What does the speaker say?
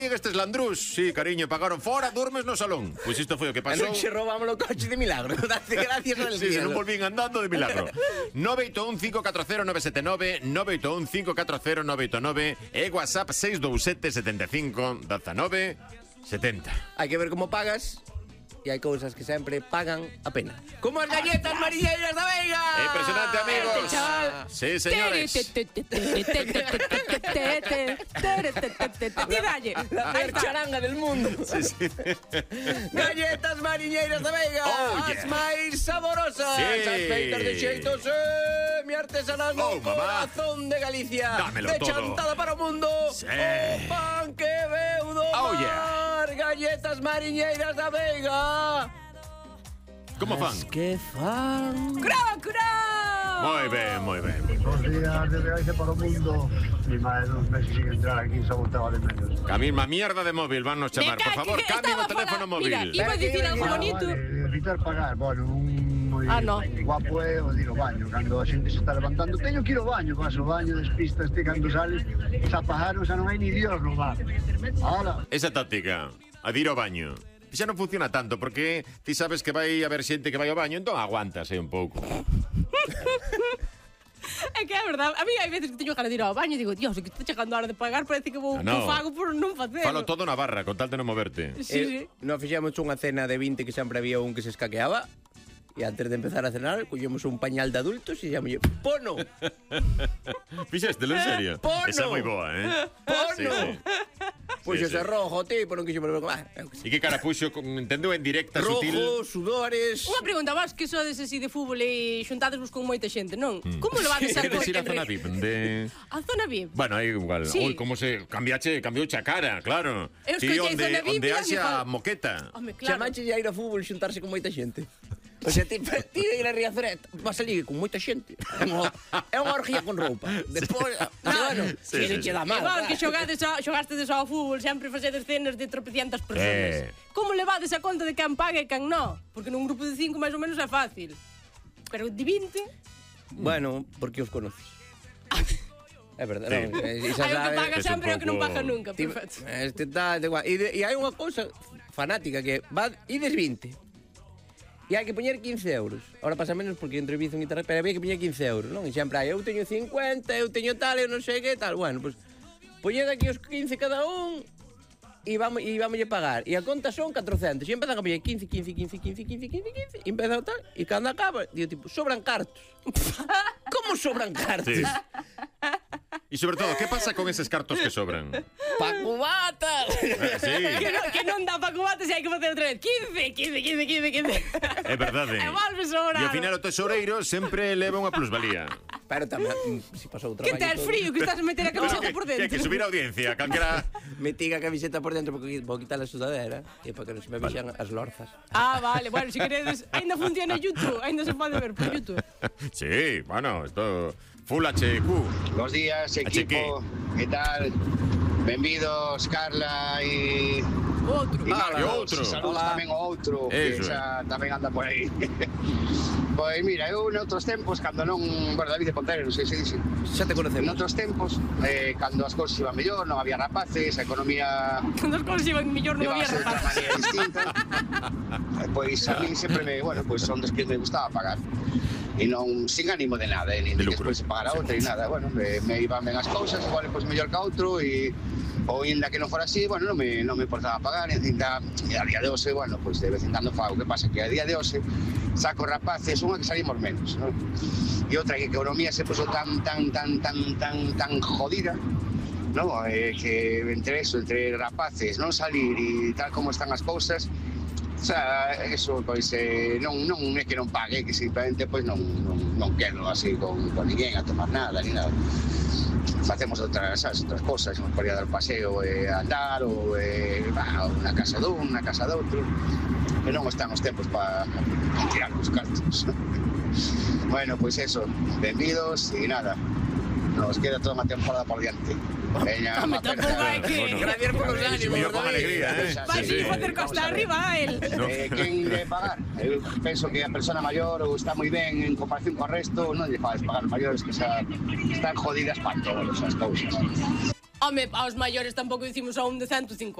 Estes landrús, sí, cariño, pagaron fora, durmes no salón. Pois isto foi o que pasou. Non se robamos o coche de milagro. Date gracias al Sí, cielo. non volvín andando de milagro. 981-540-979, 981-540-989 e WhatsApp 627-75-19-70. Hai que ver como pagas e hai cousas que sempre pagan a pena. Como as galletas marineiras da Veiga. Impresionante, amigos. Sí, señores. Ti dalle. La peor charanga del mundo. Sí, sí. Galletas mariñeiras da Veiga. Oh, As yeah. máis saborosas. Sí. As feitas de xeito semi-artesanal no mamá. corazón de Galicia. Dámelo de todo. chantada para o mundo. Sí. O pan que veu do Oh, mar. yeah. Galletas mariñeiras da Veiga. Como fan? Que fan. ¡Crocro! Moi ben, moi ben. Bos días de viaxe para o mundo. Mi máis dos meses sin entrar aquí, xa voltaba de menos. A mesma mierda de móvil van nos chamar. Me Por cae favor, que cambien o estaba teléfono fora. móvil. Mira, iba a dicir algo bonito. Vale, evitar pagar, bueno, un moi no. guapo é o de ir ao baño. Cando a xente se está levantando, teño que ir ao baño, vas ao baño, despistas, cando sales, xa pajaron, xa non hai ni Dios no bar. Ahora, Esa táctica, a de ir ao baño. Xa non funciona tanto porque ti sabes que vai haber xente que vai ao baño, entón aguantas aí un pouco. É que é verdade. A mí hai veces que teño ganas de ir ao baño e digo, Dios, que está chegando a hora de pagar, parece que vou No. fago por non facelo. Falo todo na barra, con tal de non moverte. Sí, sí. Nos fixemos unha cena de 20 que sempre había un que se escaqueaba. E antes de empezar a cenar, collemos un pañal de adultos e xamamos Pono. Fixéstelo, en serio? Pono. Esa é moi boa, Pono. Sí, sí. Puxo Sí, sí. ese rojo, tipo, non quixo volver. E que cara puxo, entendeu, en directa, sutil. Rojo, sudores. Unha pregunta, vos que sodes así de fútbol e xuntadesvos con moita xente, non? Como levades a Queres ir a zona VIP de... A zona VIP? Bueno, aí igual. Sí. Oi, como se cambiouche a cara, claro. Eu escoitei zona VIP onde e haxa dame moqueta. Home, claro. Chamache a ir a fútbol xuntarse con moita xente. O sea, ti de ir a Riazoret, vas a ligue con moita xente. É unha orgía con roupa. Despois, bueno, Sí, si sí, non che sí. dá mal. Igual que xogastes ao fútbol, sempre facedes cenas de tropecientas personas. Eh. Como levades a conta de quen paga e quen non? Porque nun grupo de 5 máis ou menos é fácil. Pero de 20... Bueno, porque os conoces. É verdade, Sí. non? Hai o que paga es un sempre e o que non pouco- paga nunca, Ti- perfecto. Este tá igual. E hai unha cousa fanática que va ides 20. E hai que poñer 15 euros. Ahora pasa menos porque entre Bizum e tal, pero había que poñer 15 euros, non? E sempre hai, eu teño 50, eu teño tal, eu non sei que tal. Bueno, pues poñed aquí os 15 cada un e vamos pagar. E a conta son 400. E empezan a poñer 15, 15, 15, 15, 15, 15, 15. E empezan tal, e cando acaba, digo tipo, sobran cartos. Como sobran cartos? Sí. E sobre todo, que pasa con eses cartos que sobran? Pa cubatas. Sí, Que non dá pa cubates e hai que facer outra vez 15, 15, 15, 15, 15. é verdade. E volve sobrar. E ao final o tesoureiro sempre leva unha plusvalía. Pero tamén, se pasou o Que traballo tes todo. frío, que estás a meter a camiseta por Que hai dentro. que subir a audiencia, calquera... Metí a camiseta por dentro porque vou quitar a sudadera e para que non se me vexan as lorzas. Ah, vale, bueno, se queredes, ainda funciona YouTube, ainda se pode ver por YouTube. Sí, bueno, esto... Full HQ. Bos días, Acheque. equipo. Que tal? Benvidos, Carla e... Outro. E Carlos. outro. Saludos Hola. tamén ao outro, que Eso xa tamén anda por aí. Pois mira, eu noutros tempos, cando non... Bueno, David de Ponteiro, non sei se dixe. Xa te conocemos. Noutros tempos, cando as cousas iban mellor, non había rapaces, a economía Cando as cousas iban mellor non había levase de outra rapaz. maneira distinta. Pois a mí sempre me, bueno, pois son dos que me gustaba pagar. E non sin ánimo de nada, nin De que lucro. despois se pagara outra e nada, bueno, me iban ben as cousas, igual pois mellor que outro e ou ainda que non fora así, bueno, non me importaba pagar, e a día de hoxe, bueno, pois de vez en cando fago, que pasa que a día de hoxe saco rapaces, unha que salimos menos, non? E outra que a economía se puso tan jodida, non? Que entre eso, entre rapaces, non salir e tal como están as cousas. O sea, eso, pois, non é que non pague, que simplemente, pois, non quedo así con ninguén a tomar nada, ni nada. Facemos outras cosas, nos podía dar paseo a andar, ou unha casa dun, unha casa doutro, que non están os tempos para tirar os cartos. Bueno, pois eso, benvidos e nada, nos queda toda unha temporada por diante. Veña, Home, tampouco hai que... Gracias por os ánimos, Subiu con David. alegría, Vai Sí, sí. facer costa arriba a él. Quen de pagar? Eu penso que a persona maior ou está moi ben en comparación co resto, non lle fades pagar os maiores que xa están jodidas para todas as cousas. Home, aos maiores tampouco dicimos a un de 150.